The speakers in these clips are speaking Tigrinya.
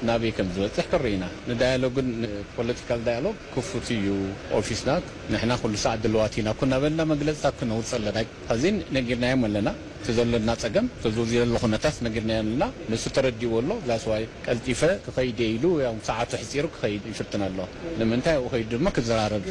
ናበይ ከም ዝበፅሕ ክርኢ ኢና። ንዳያሎግን ንፖለቲካል ዳያሎግ ክፉት እዩ ኦፊስና። ንሕና ኩሉ ሰዓት ድልዋት ኢና ኩና በልና መግለፅታት ክነውፅእ ኣለና። ሕዚን ነጊርናዮም ኣለና። እቲ ዘለና ፀገም፣ እቲ ዘሎ ኩነታት ነጊርናዮ ኣለና። ንሱ ተረዲእዎ ኣሎ። ዛስዋይ ቀልጢፈ ክኸይድ እየ ኢሉ፣ ያው ሰዓቱ ሕፂሩ ክኸይድ ይፍትን ኣሎ። ንምንታይ ኣብኡ ከይዱ ድማ ክዘራረብ።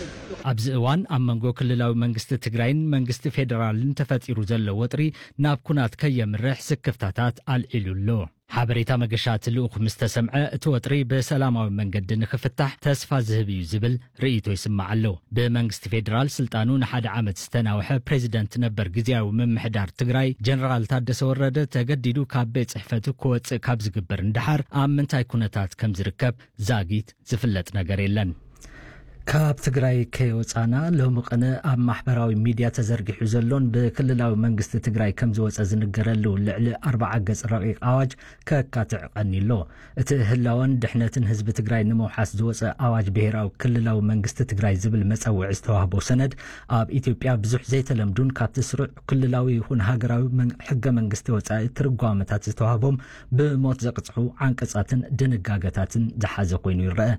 ኣብዚ እዋን ኣብ መንጎ ክልላዊ መንግስቲ ትግራይን መንግስቲ ፌዴራልን ተፈጢሩ ዘሎ ወጥሪ ናብ ኩናት ከየምርሕ ስክፍታታት ኣልዒሉ ኣሎ። ሓበሬታ መገሻ እቲ ልኡኽ ምስ ተሰምዐ፣ እቲ ወጥሪ ብሰላማዊ መንገዲ ንኽፍታሕ ተስፋ ዝህብ እዩ ዝብል ርእይቶ ይስማዕ ኣሎ። ብመንግስቲ ፌዴራል ስልጣኑ ንሓደ ዓመት ዝተናውሐ ፕሬዚደንት ነበር ግዜያዊ ምምሕዳር ትግራይ ጀነራል ታደሰ ወረደ ተገዲዱ ካብ ቤት ጽሕፈቱ ክወጽእ ካብ ዝግበር ንደሓር ኣብ ምንታይ ኩነታት ከም ዝርከብ ዛጊት ዝፍለጥ ነገር የለን። ካብ ትግራይ ከይወፃና ሎሚ ቅነ ኣብ ማሕበራዊ ሚድያ ተዘርጊሑ ዘሎን ብክልላዊ መንግስቲ ትግራይ ከም ዝወፀ ዝንገረሉ ልዕሊ ኣርባዓ ገፅ ረቂቕ ኣዋጅ ከካትዕ ቀኒሎ። እቲ ህላወን ድሕነትን ህዝቢ ትግራይ ንምውሓስ ዝወፀ ኣዋጅ ብሄራዊ ክልላዊ መንግስቲ ትግራይ ዝብል መፀውዒ ዝተዋህቦ ሰነድ ኣብ ኢትዮጵያ ብዙሕ ዘይተለምዱን ካብቲ ስሩዕ ክልላዊ ይኹን ሃገራዊ መን- ሕገ መንግስቲ ወፃኢ ትርጓመታት ዝተዋህቦም ብሞት ዘቕፅሑ ዓንቀፃትን ድንጋገታትን ዝሓዘ ኮይኑ ይረአ።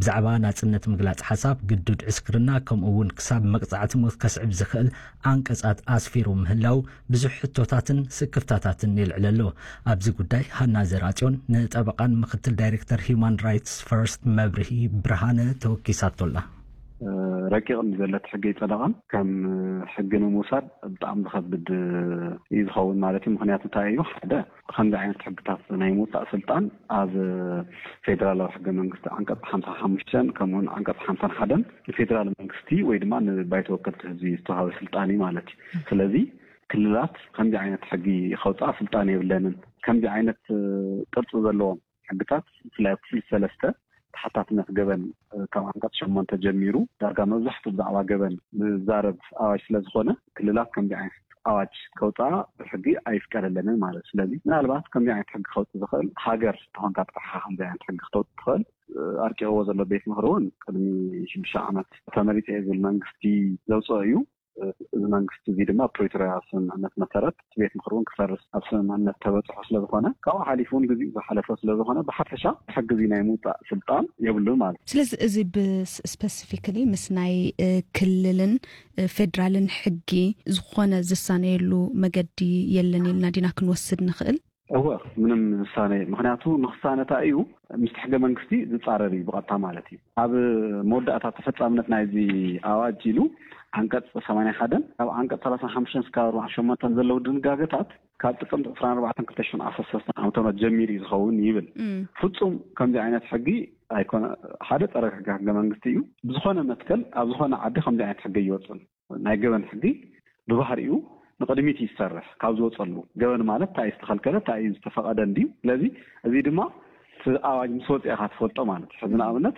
ብዛዕባ ናፅነት ምግላፅ ሓሳብ፣ ግዱድ ዕስክርና ከምኡ እውን ክሳብ መቕፃዕቲ ሞት ከስዕብ ዝኽእል ዓንቀፃት ኣስፊሩ ምህላው ብዙሕ ሕቶታትን ስክፍታታትን የልዕለሎ። ኣብዚ ጉዳይ ሃና ዘርኣፅዮን ንጠበቃን ምክትል ዳይሬክተር ሂውማን ራይትስ ፈርስት መብርሂ ብርሃነ ተወኪሳቶላ። ረቂቕ ንዘለት ሕጊ ኣይጸደቐን። ከም ሕጊ ንምውሳድ ብጣዕሚ ዝኸብድ እዩ ዝኸውን ማለት እዩ። ምኽንያቱ እንታይ እዩ? ሓደ፣ ከምዚ ዓይነት ሕግታት ናይ ምውጻእ ስልጣን ኣብ ፌደራላዊ ሕገ መንግስቲ ዓንቀጽ ሓምሳ ሓሙሽተን ከምኡውን ዓንቀጽ ሓምሳን ሓደን ንፌደራል መንግስቲ ወይ ድማ ንባይቶ ወከልቲ ህዝቢ ዝተዋሃበ ስልጣን እዩ ማለት እዩ። ስለዚ ክልላት ከምዚ ዓይነት ሕጊ ከውፅኣ ስልጣን የብለንን። ከምዚ ዓይነት ቅርፂ ዘለዎም ሕግታት ብፍላይ ኣብ ክፍሊ ሰለስተ ተሓታትነት ገበን ካብ ዓንቀጽ ሸሞንተ ጀሚሩ ዳርጋ መብዛሕትኡ ብዛዕባ ገበን ዝዛረብ ኣዋጅ ስለ ዝኾነ ክልላት ከምዚ ዓይነት ኣዋጅ ከውፅኣ ብሕጊ ኣይፍቀደለንን ማለት እዩ። ስለዚ ምናልባት ከምዚ ዓይነት ሕጊ ከውፅእ ዝኽእል ሃገር ተኾንካ ጥራሕ ከምዚ ዓይነት ሕጊ ክተውፅእ ትኽእል። ኣርቂቕዎ ዘሎ ቤት ምኽሪ እውን ቅድሚ ሽዱሽተ ዓመት ተመሪፀ እየ ዝብል መንግስቲ ዘውፅኦ እዩ። እዚ መንግስቲ እዚ ድማ ፕሪቶርያ ስምምዕነት መሰረት እቲ ቤት ምኽሪ እውን ክፈርስ ኣብ ስምምዕነት ተበፅሖ ስለ ዝኾነ ካብኡ ሓሊፉ እውን ግዜኡ ዝሓለፈ ስለ ዝኾነ ብሓፈሻ ሕጊ እዚ ናይ ምውፃእ ስልጣን የብሉን ማለት እዩ። ስለዚ እዚ ብስፐሲፊክሊ ምስ ናይ ክልልን ፌደራልን ሕጊ ዝኾነ ዝሳነየሉ መገዲ የለን ኢልና ዲና ክንወስድ ንኽእል? እወ፣ ምንም ዝሳነ፣ ምኽንያቱ ንክሳነ እንታይ እዩ ምስቲ ሕገ መንግስቲ ዝፃረር እዩ ብቐጥታ ማለት እዩ። ኣብ መወዳእታ ተፈፃምነት ናይዚ ኣዋጅ ኢሉ ዓንቀፅ ሰማንያ ሓደን ካብ ዓንቀፅ ሰላሳን ሓሙሽተን እስካብ ኣርባዓን ሸሞንተን ዘለዉ ድንጋገታት ካብ ጥቅምቲ ዕስራን ኣርባዕተን ክልተ ሽሕን ዓሰርተ ሰለስተን ዓመተ ምህረት ጀሚሩ እዩ ዝኸውን ይብል። ፍፁም ከምዚ ዓይነት ሕጊ ኣይኮነ። ሓደ ጸረ ሕገ ሕገ መንግስቲ እዩ። ብዝኾነ መትከል ኣብ ዝኾነ ዓዲ ከምዚ ዓይነት ሕገ ይወፅን። ናይ ገበን ሕጊ ብባህሪኡ ንቕድሚት እዩ ዝሰርሕ ካብ ዝወፀሉ። ገበን ማለት እንታይ እዩ ዝተኸልከለ እንታይ እዩ ዝተፈቐደ እንድዩ። ስለዚ እዚ ድማ እቲ ኣዋጅ ምስ ወፅአ ኢኻ ትፈልጦ ማለት እዩ። ሕዚ ንኣብነት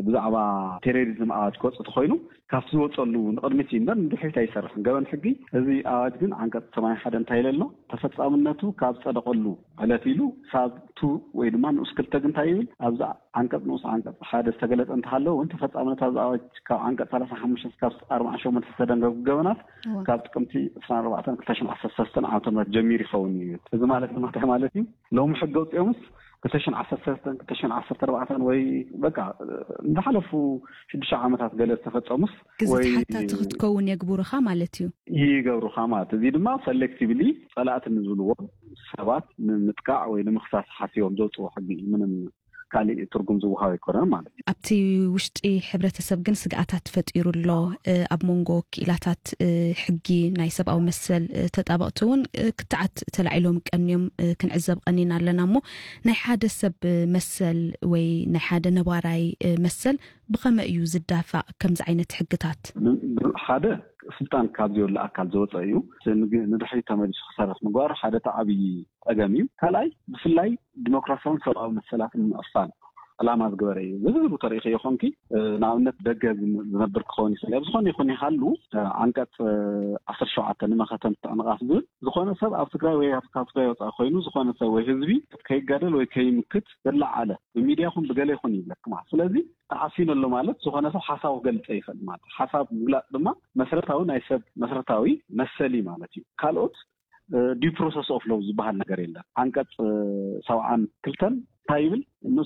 ብዛዕባ ቴሮሪዝም ኣዋጅ ክወፅእ ተኾይኑ ካብቲ ዝወፀሉ ንቕድሚት እዩ እምበር ንድሕሪት ኣይሰርሕን ገበን ሕጊ። እዚ ኣዋጅ ግን ዓንቀፅ ሰማንያ ሓደ እንታይ ኢለ ኣሎ? ተፈፃምነቱ ካብ ጸደቐሉ ዕለት ኢሉ ሳብ ቱ ወይ ድማ ንኡስ ክልተ ግን እንታይ ይብል? ኣብዚ ዓንቀፅ ንኡስ ዓንቀፅ ሓደ ዝተገለጸ እንተሃለወ እውን ተፈፃምነት ኣብዚ ኣዋጅ ካብ ዓንቀፅ ሰላሳ ሓሙሽተ እስካብ ኣርባዓን ሸሞንተን ዝተደንገጉ ገበናት ካብ ጥቅምቲ ዕስራን ኣርባዕተን ክልተ ሽሕን ዓሰርተ ሰለስተን ዓመተ ምህረት ጀሚሩ ይኸውን እዩ። እዚ ማለት ድማ እንታይ ማለት እዩ? ሎሚ ሕጊ ኣውፂኦምስ ክልተ ሽሕን ዓሰርተ ሰለስተን ክልተ ሽሕን ዓሰርተ ኣርባዕተን ወይ በቃ እንዳሓለፉ ሽዱሽተ ዓመታት ገለ ዝተፈፀሙስ ግዜ ወይ ተሓታቲ ክትከውን የግቡርኻ ማለት እዩ። ይገብሩኻ ማለት እዚ ድማ ሰሌክቲቭሊ ጸላእቲ ንዝብልዎ ሰባት ንምጥቃዕ ወይ ንምኽሳስ ሓሲቦም ዘውፅዎ ሕጊ እዩ። ምንም ካሊእ ትርጉም ዝወሃብ ኣይኮነን ማለት እዩ። ኣብቲ ውሽጢ ሕብረተሰብ ግን ስግኣታት ፈጢሩ ኣሎ። ኣብ መንጎ ክኢላታት ሕጊ ናይ ሰብኣዊ መሰል ተጣበቕቲ እውን ክትዓት ተላዒሎም ቀንዮም ክንዕዘብ ቀኒና ኣለና። እሞ ናይ ሓደ ሰብ መሰል ወይ ናይ ሓደ ነባራይ መሰል ብኸመይ እዩ ዝዳፋእ ከምዚ ዓይነት ሕግታት? ሓደ ስልጣን ካብ ዘየብሉ ኣካል ዝወፀ እዩ። ንድሕሪት ተመሊሱ ክሰርሕ ምግባሩ ሓደ እቲ ዓብዪ ፀገም እዩ። ካልኣይ ብፍላይ ዲሞክራሲያውን ሰብኣዊ መሰላትን ንምዕፋን ዕላማ ዝገበረ እዩ። ዝብሉ ተሪኢኸዮ ኮንኪ ንኣብነት ደገ ዝነብር ክኸውን ይኽእል ኣብ ዝኾነ ይኹን ይሃሉ ዓንቀፅ ዓሰርተ ሸውዓተ ንመኸተ ምትዕንቓፍ ዝብል ዝኾነ ሰብ ኣብ ትግራይ ወይ ካብ ትግራይ ወፃኢ ኮይኑ ዝኾነ ሰብ ወይ ህዝቢ ከይጋደል ወይ ከይምክት ዝለዓለ ብሚድያ ይኹን ብገለ ይኹን ይብለክ ማለት ስለዚ ተዓፊኑ ኣሎ ማለት ዝኾነ ሰብ ሓሳቡ ክገልፀ ይኽእል ማለት ሓሳብ ምግላፅ ድማ መስረታዊ ናይ ሰብ መስረታዊ መሰል እዩ ማለት እዩ። ካልኦት ዲው ፕሮሰስ ኦፍ ሎው ዝበሃል ነገር የለን። ዓንቀፅ ሰብዓን ክልተን እንታይ ይብል?